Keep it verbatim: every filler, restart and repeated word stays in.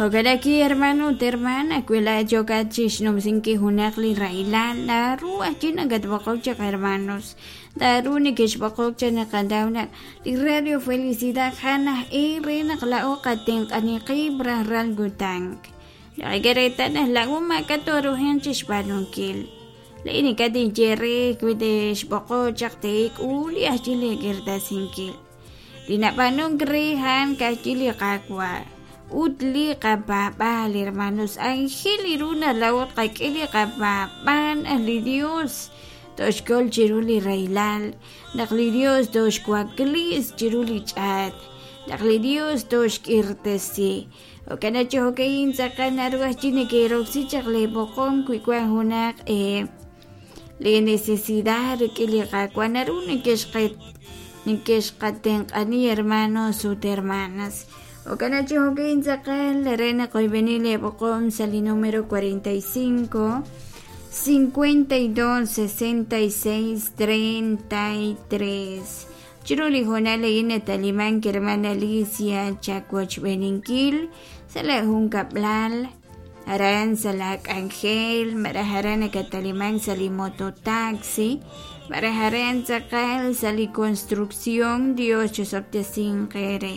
Jo'kan hermano ut hermana wi laa'at yookat chixnumsinkil junaq li rahilal naru ajwi' nakatb'oqok chaq hermanos naru nekexb'oqok chaq naqanaw naq li Radio Felicidad jan aj e re naq laa'o qatenq'ani qib' rajlal kutan naqak'e reetal naq laa'o maak'a' tooruhanq chixb'aanunkil laa'in ink'a' tinye re wi texb'oqok chaq teek'ul li ajwi' leek'irtasinkil li nab'aanunk re a'an ka'ajwi' li Qaawa' ut li qapaab'aal hermanos anjel ru naq laa'o tqak'e li qapaab'aal li Dios toxkol chiru li rahilal naq li Dios toxwaklis chiru li ch'aat naq li Dios toxk'irtesi jo'kan chi jo'ka'in tz'aqal naru ajwi' neke'roksi chaq leeb'oqom wi wan junaq eh, li necesidad rik'in li Qaawa' naru nekexqe nekexqatenq'ani hermanos ut hermanas jo'kan chi jo'ka'in tz'aqal re naq oyb'eni leeb'oqom sa' li número cuarenta y cinco cincuenta y dos sesenta y seis treinta y tres chiru li hoonal a'in natalimank hermana Alicia chawochb'eninkil sa' la junkab'lal aran sa' la k'anjel malaj aran nakatalimank sa' li mototaxi malaj aran tz'aqal sa' li construcción Dios chisob'tesinq eere.